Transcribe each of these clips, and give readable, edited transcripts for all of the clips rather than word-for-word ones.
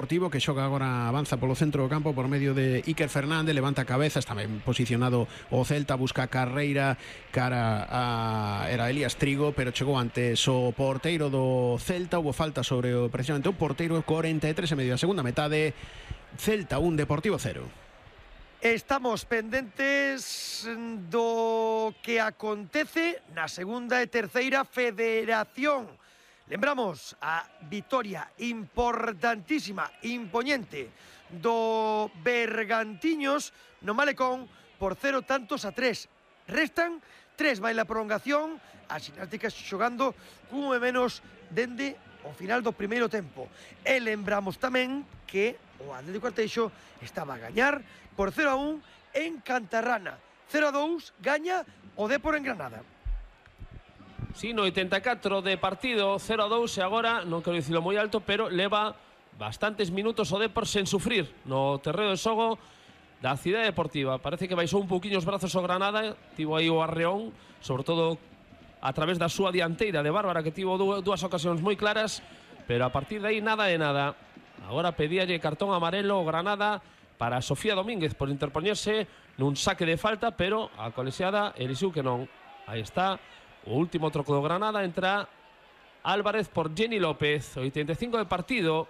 Deportivo que xoga agora, avanza polo centro do campo por medio de Iker Fernández, levanta a cabeza, está ben posicionado o Celta, busca a carreira cara a era Elías Trigo, pero chegou antes o porteiro do Celta, houve falta sobre precisamente o porteiro. 43 e medio da segunda metade, Celta 1, Deportivo 0. Estamos pendentes do que acontece na segunda e terceira federación. Lembramos a vitoria importantísima, impoñente do Bergantiños no Malecón por 0-3. Restan 3, vai la prolongación, a ximnástica xogando cun e menos dende o final do primeiro tempo. E lembramos tamén que o Atlético Arteixo estaba a gañar por 0-1 en Cantarrana. 0-2 gaña o Depor en Granada. Sí, no 84 de partido, 0-2 e agora, non quero dicilo moi alto, pero leva bastantes minutos o Depor sen sufrir no terreo de xogo da Cidade Deportiva. Parece que baixou un pouquiño os brazos o Granada, tivo aí o arreón, sobre todo a través da súa dianteira de Bárbara, que tivo dúas ocasións moi claras, pero a partir de aí nada de nada. Agora pedíalle cartón amarelo o Granada para Sofía Domínguez por interpoñerse nun saque de falta, pero a colexiada elixiu que non. Aí está o último troco do Granada, entra Álvarez por Jenny López. 85 de partido,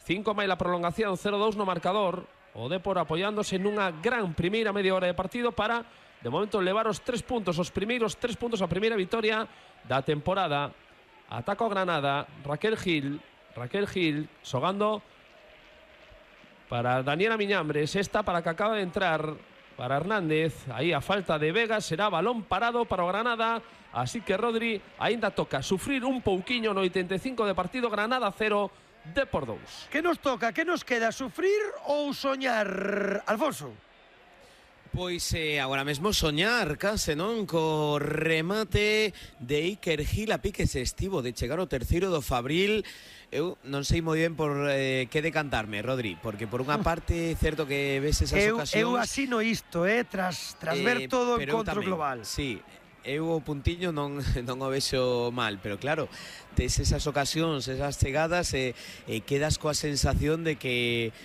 5 máis la prolongación, 0-2 no marcador. O Depor apoiándose nunha gran primeira media hora de partido para, de momento, levar os 3 puntos, os primeiros 3 puntos, a primeira vitoria da temporada. Ataca o Granada, Raquel Gil xogando para Daniela Miñambres, esta para que acaba de entrar para Hernández. Aí a falta de Vega, será balón parado para o Granada, así que Rodri aínda toca sufrir un pouquiño no 85 de partido. Granada 0, Depor 2. Que nos toca, que nos queda, sufrir ou soñar, Alfonso? Pois agora mesmo soñar, case, non? Co remate de Iker Gil, a pique se estivo de chegar o terceiro do Fabril. Eu non sei moi ben por que decantarme, Rodri, porque por unha parte certo que ves esas ocasións. Eu asino isto, tras ver todo o encontro global. Sí, eu o puntiño non o vexo mal, pero claro, tes esas ocasións, esas chegadas e quedas coa sensación de que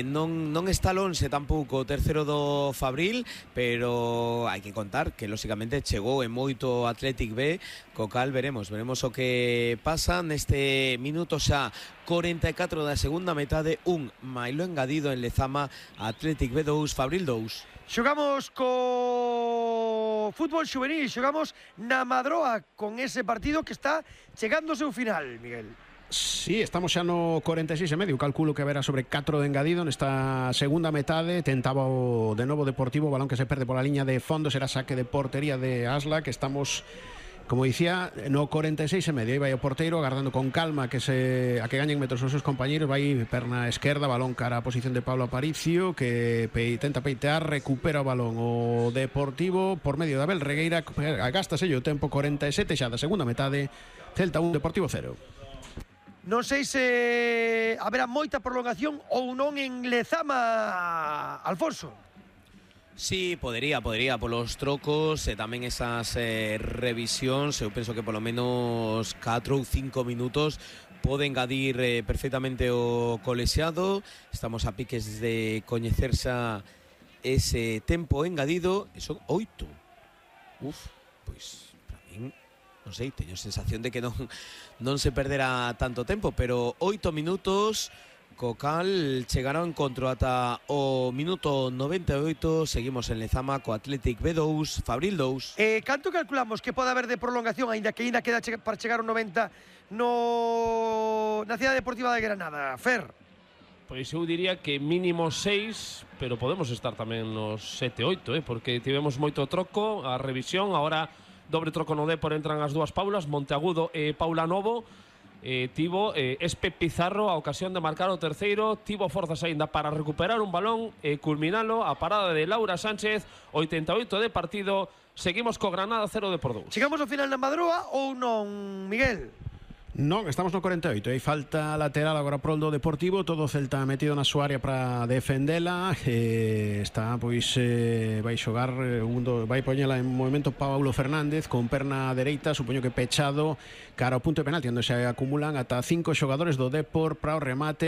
non está lonxe tampouco o terceiro do Fabril, pero hai que contar que lóxicamente chegou en moito Athletic B, co cal veremos o que pasa neste minuto xa 44 da segunda metade. Un mailo engadido en Lezama, Athletic B 2, Fabril 2. Xogamos co fútbol xuvenil, xogamos na Madroa con ese partido que está chegando ao seu final, Miguel. Sí, estamos xa no 46 e medio. Calculo que haberá sobre 4 de engadido nesta segunda metade. Tentaba o de novo Deportivo, balón que se perde pola liña de fondo, será saque de portería de Asla, que estamos, como dicía, no 46 e medio. Aí vai o porteiro agardando con calma a que gañen metros os seus compañeiros. Vai perna esquerda, balón cara a posición de Pablo Aparicio, que tenta peitear, recupera o balón o Deportivo por medio de Abel Regueira. Agástase o tempo, 47 xa da segunda metade. Celta 1, Deportivo 0. Non sei se haberá moita prolongación ou non en Lezama, Alfonso. Sí, podería polos trocos e tamén esas revisións. Eu penso que polo menos 4 ou 5 minutos pode engadir perfectamente o colexiado. Estamos a piques de coñecerse ese tempo engadido. E son 8. Pois para min, non sei, teño sensación de que non se perderá tanto tempo, pero 8 minutos, co cal chegará o encontro ata o minuto 98. Seguimos en Lezama co Athletic B2, Fabril 2. Canto calculamos que pode haber de prolongación, aínda que queda para chegar ao 90 na Cidade Deportiva de Granada, Fer? Pois eu diría que mínimo 6, pero podemos estar tamén nos 7-8, porque tivemos moito troco, a revisión, agora dobre troco no Depor, entran as dúas Paulas, Monteagudo e Paula Novo. Tivo Espe Pizarro a ocasión de marcar o terceiro, tivo forzas aínda para recuperar un balón e culminalo, a parada de Laura Sánchez. 88 de partido, seguimos co Granada 0, Depor 2. Chegamos ao final na Madroa ou non, Miguel? Non, estamos no 48. Hai falta lateral agora pro do Deportivo. Todo o Celta metido na súa área para defendela. Está, pois, vai xogar vai poñela en movimento Paulo Fernández con perna dereita, supoño que pechado cara ao punto de penalti, onde se acumulan ata 5 xogadores do Depor para o remate.